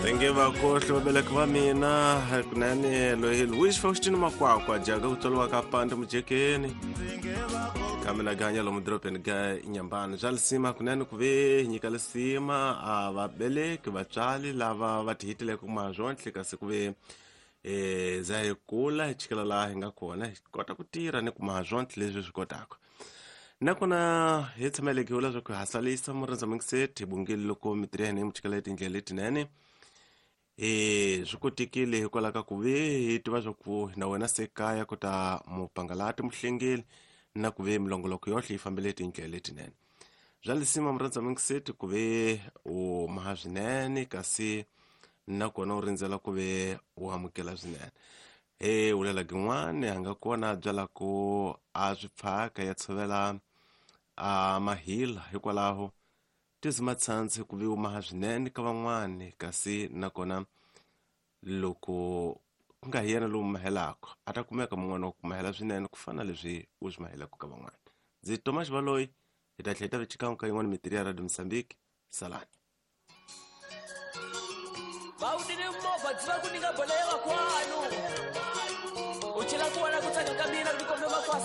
Ndzi nge va kohle vaveleki va mina kunene loyi Louis Faustin Makwakwa jaga ku tswariwa ka pande mujekeni kambe na ganya lomu dorobeni ga Nyambani. Bya lisima kunene ku ve hi nyika lisima a vabeleki vatswari lava va tihitileke kuma swonhle kasi ku ve za hi kula hi chikela laha hi nga kona hi kota ku tirha ni kuma swonhle leswi swi kotaka. Nakona hi tshameleke vula swa ku hasalisa murhandza mingiseti hi bungile loko mitirho ya hina yi mu chikela etindlela letinene. Swi kotekile hikwalaho ka ku ve hi tiva swa ku na wena se kaya ku ta mupangalati muhlengeli na ku ve milongoloko yohle yi fambele tindlela letinene. Bya lisima murhandza mingiseti ku ve u maha swinene kasi nakona u rindzela ku ve u amukela swinene. E ulela gin'wani a nga kona a byalako a swi pfhaka ya tshovela a mahila hikwalaho tizima tshandzi ku ve u maha swinene ka van'wani kasi nakona loko ku nga hi yena lowu mahelaka a ta kumeka mun'wana wa ku mahela swinene ku fana leswi u swi mahelaka ka van'wana. Ndzi Tomas Valoyi hi ta tlhela hi ta ve xikan'we ka yin'wana mitirhi ya Radio Mozambique. Salani. Vawudini movha dziva ku nyika bolo ya vakwanu u chela ku vona ku tsaka ka mina ku kombe makwasa.